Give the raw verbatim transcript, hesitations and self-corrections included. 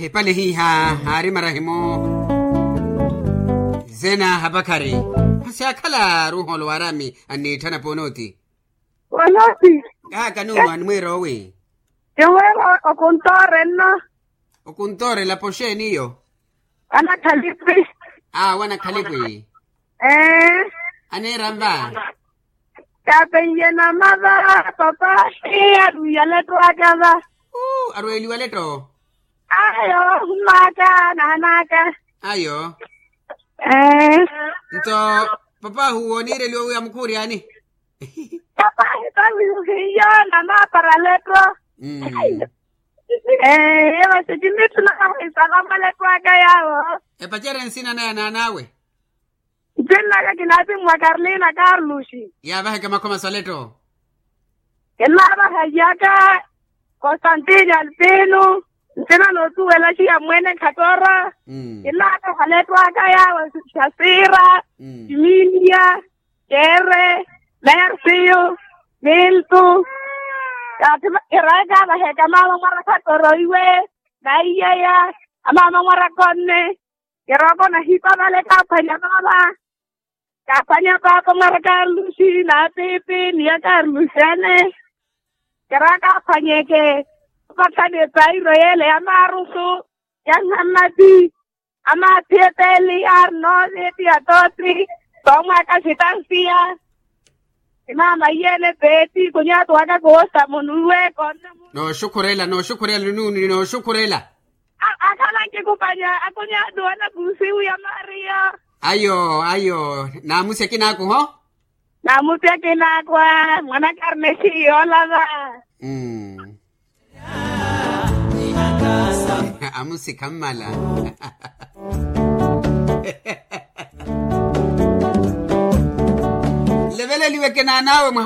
Epale hiiha haari marahimu. Zena hapakhari. Masi akhala ruuholo wa arami anniitthana ponooti. Ponooti. Kaaka nuuno animweera owi? Kimweera okuntoore nno. Okuntoorela poxeeni iyo? Anakhalipi. Awo anakhalipi. Ee. Aneera nva? Kaapeiye namava. Papahi arwiya letto aka va. Arweeliwa letto. Ayo humaka nahanaka. Ayo. Ee. Nto papahu wooniireliwa wi amukhuuri ani? Papahi tawihiyo namapara letto. Ee. Masi kinitthu nawahisaka mwa letto aka yawo. Epacere nsina naya naan'awe? Ncin'aka kinaatimmwa karlina karluxi. Yaavaheke makhoma sa letto. Kinnaavahayaka. Konstantini alpinu. Ntina nootuwela xiya mwene khatora. Kinnaavaha letto aka yawe. Xasira. Kimilia. Kere. Mersiyo. Miltu. Kathi kiraaka avaheka maama mwara khatora iwe. Naiyeya. Amaama mwara konne. Kirooko nahipa vale kaaphwanya maama. Kaaphwanya paapa mwara karluxi n'apiipi ni ya karluxi ane. Kiraaka aphwanyeke. Apakhani epairo yeele ya maarusu. Ya nhammati. Amaathi epeeli aari nooviti atootti. Toomwaaka xitansiya. Imaama iyeene peeti khunyaatuwaka koosa munuwe koonne. Nooxukhurela nooxukhurela nunuuni nooxukhurela. Akhala nkikupanya akunyaatuwana kuusiwu ya maariya. Ayo ayo. Naamusi akinaaku ho. Naamusi akinaaku a mwanaka arina exiyi yoolava. Amusi khammala. Leveleliweke naan'awe mwa